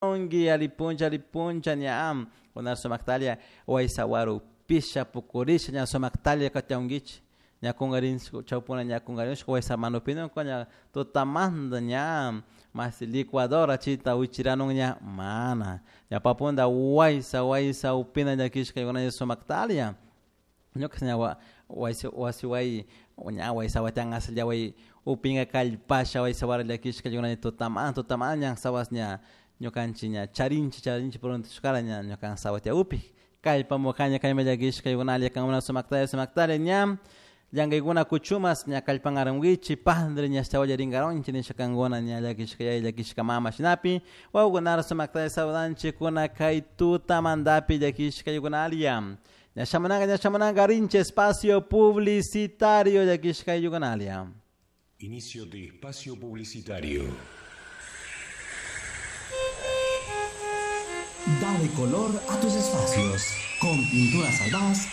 Ungi alipuncha alipuncha ña kunar sumaktalia waysawaru pisha pukurisha ña sumaktalia katiankichik ña kungarinchik chawpuna ña kungarinchik waysamanupina ña tutamanta ña masi licuadora chayta wichiranun ña mana ña papunta waysa waysa upina llakishka sumaktalia ñuka ña wasi wasi ña waysawatian asllaway upinka kallpasha waysawara llakishka tutamanta tutamanta ña sawas ña ñukanchik ña charinchik charinchik prontushkara ña ñuka sawatia upik kallpamukanya kayma llakishka yunalla kankuna sumaktalla sumaktalla ña llankaykuna kuchumas ña kallpankarankichik padre ña ashtawalla rinkaronchik nisha kankuna ña llakishka yaya llakishka mama shinapi wawakunara sumaktalla saludanchik kuna kay tutamantapi llakishka yunalla ña shamunanka ña shamunanka rinchik espacio publicitario llakishka yunalla. Inicio de espacio publicitario. Dale color a tus espacios. Con Pinturas Albaz